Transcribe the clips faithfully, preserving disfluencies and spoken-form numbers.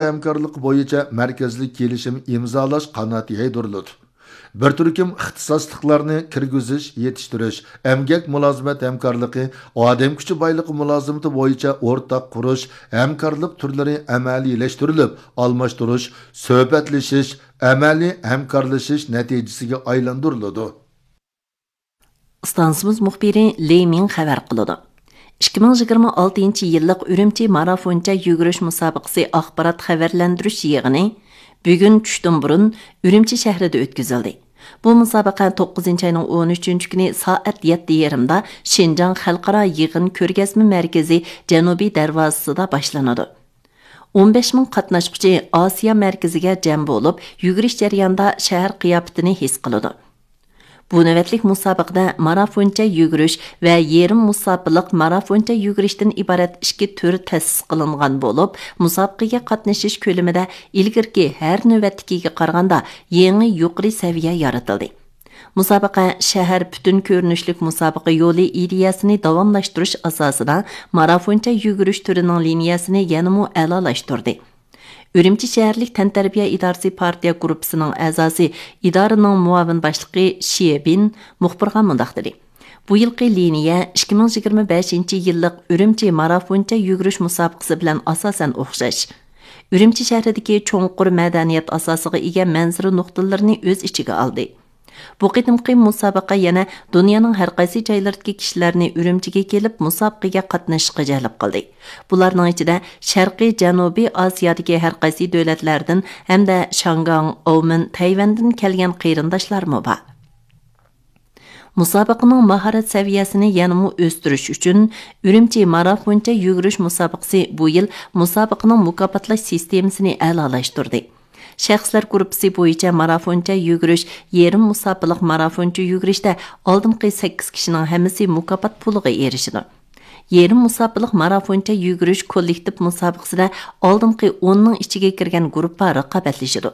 ھەمكارلىقى بويىچە مەركەزلىك كېلىشىم ئىمزالاش قانات يايدۇرۇلىدۇ. بىر تۈركۈم ئىختىساسلىقلارنى كىرگۈزۈش، يېتىشتۈرۈش، ئەمگەك مۇلازىمەت ھەمكارلىقى، ئادەم كۈچى بايلىقى مۇلازىمىتى بويىچە ئورتاق قۇرۇش، ھەمكارلىق تۈرلىرى ئەمەلىيلەشتۈرۈلۈپ، ئالماشتۇرۇش، سۆھبەتلىشىش، ئەمەلىي ھەمكارلىشىش نەتىجىسىگە ئايلاندۇرۇلىدۇ. ئىستانسىمىز مۇخبىرى لى مىڭ خەۋەر قىلىدۇ. ئىككى مىڭ يىگىرمە ئالتىنچى يىللىق ئۈرۈمچى مارافونچە يۈگۈرۈش مۇسابىقىسى ئاخبارات خەۋەرلەندۈرۈش يىغىنى بۈگۈن چۈشتىن بۇرۇن ئۈرۈمچى شەھىرىدە ئۆتكۈزۈلدى. بۇ مۇسابىقە توققۇزىنچى ئاينىڭ ئون ئۈچىنچى كۈنى سائەت يەتتە يېرىمدا شىنجاڭ خەلقئارا يىغىن كۆرگەزمە مەركىزى جەنۇبىي دەرۋازىسىدا باشلىنىدۇ. ئون بەش مىڭ قاتناشقۇچى ئاسىيا مەركىزىگە جەم بولۇپ، يۈگۈرۈش جەريانىدا شەھەر قىياپىتىنى ھېس قىلىدۇ. بۇ نۆۋەتلىك مۇسابىقىدە مارافونچە يۈگۈرۈش ۋە يېرىم مۇساپىلىق مارافونچە يۈگۈرۈشتىن ئىبارەت ئىككى تۈر تەسىس قىلىنغان بولۇپ، مۇسابىقىگە قاتنىشىش كۆلىمىدە ئىلگىرىكى ھەر نۆۋەتتىكىگە قارىغاندا يېڭى يۇقىرى سەۋىيە يارىتىلدى. مۇسابىقە شەھەر پۈتۈن كۆرۈنۈشلۈك مۇسابىقە يولى ئىدىيەسىنى داۋاملاشتۇرۇش ئاساسىدا مارافونچە يۈگۈرۈش تۈرىنىڭ لىنىيەسىنى يەنىمۇ ئەلالاشتۇردى. ئۈرۈمچى شەھەرلىك تەنتەربىيە ئىدارىسى پارتىيە گۇرۇپپىسىنىڭ ئەزاسى، ئىدارىنىڭ مۇئاۋىن باشلىقى شيې بىن مۇخبىرغا مۇنداق دېدى: بۇ يىلقى لىنىيە ئىككى مىڭ يىگىرمە بەشىنچى يىللىق ئۈرۈمچى مارافونچە يۈگۈرۈش مۇسابىقىسى بىلەن ئاساسەن ئوخشاش. ئۈرۈمچى شەھىرىدىكى چوڭقۇر مەدەنىيەت ئاساسىغا ئىگە مەنزىرە نۇقتىلىرىنى ئۆز ئىچىگە ئالدى. بۇ قېتىمقى مۇسابىقە يەنە دۇنيانىڭ ھەر قايسى جايلىرىدىكى كىشىلەرنى ئۈرۈمچىگە كېلىپ مۇسابىقىگە قاتنىشىشقا جەلپ قىلدى. بۇلارنىڭ ئىچىدە شەرقىي جەنۇبىي ئاسىيادىكى ھەر قايسى دۆلەتلەردىن ھەمدە شاڭگاڭ، ئومېن، تەيۋەندىن كەلگەن قېرىنداشلارمۇ بار. مۇسابىقىنىڭ ماھارەت سەۋىيەسىنى يەنىمۇ ئۆستۈرۈش ئۈچۈن، ئۈرۈمچى مارافونچە يۈگۈرۈش مۇسابىقىسى بۇ يىل مۇسابىقىنىڭ مۇكاپاتلاش سىستېمىسىنى ئەلالاشتۇردى. شەخسلەر گۇرۇپپىسى بويىچە مارافونچە يۈگۈرۈش، يېرىم مۇساپىلىق مارافونچە يۈگۈرۈشتە ئالدىنقى سەككىز كىشىنىڭ ھەممىسى مۇكاپات پۇلىغا ئېرىشىدۇ. يېرىم مۇساپىلىق مارافونچە يۈگۈرۈش كوللېكتىپ مۇسابىقىسىدە ئالدىنقى ئوننىڭ ئىچىگە كىرگەن گۇرۇپپا رىقابەتلىشىدۇ.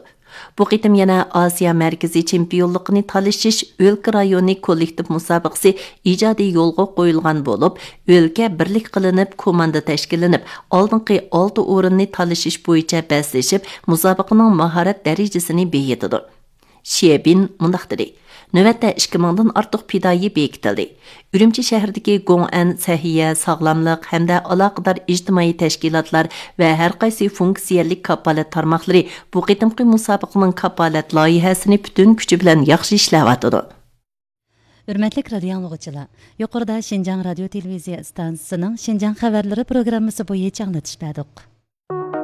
بۇ قېتىم يەنە ئاسىيا مەركىزىي چېمپىيونلۇقىنى تالىشىش ئۆلكە رايونى كوللېكتىپ مۇسابىقىسى ئىجادىي يولغا قويۇلغان بولۇپ، ئۆلكە بىرلىك قىلىنىپ، كوماندا تەشكىللىنىپ، ئالدىنقى ئالتە ئورۇننى تالىشىش بويىچە بەسلىشىپ، مۇسابىقىنىڭ ماھارەت دەرىجىسىنى بېيىتىدۇ. شيې بىن مۇنداق دېدى: نۆۋەتتە ئىككى مىڭدىن ئارتۇق پىدائىي بېكىتىلدى. ئۈرۈمچى شەھىرىدىكى گوڭئەن، سەھىيە، ساغلاملىق ھەمدە ئالاقىدار ئىجتىمائىي تەشكىلاتلار ۋە ھەر قايسى فۇنكسىيەلىك كاپالەت تارماقلىرى بۇ قېتىمقى مۇسابىقىنىڭ كاپالەت لايىھەسىنى پۈتۈن كۈچى بىلەن ياخشى ئىشلەۋاتىدۇ. ھۆرمەتلىك رادىيو ئاڭلىغۇچىلار، يۇقىرىدا شىنجاڭ رادىيو تېلېۋىزىيە ئىستانسىسىنىڭ شىنجاڭ خەۋەرلىرى پروگراممىسى بويىچە ئاڭلىتىش بەردۇق.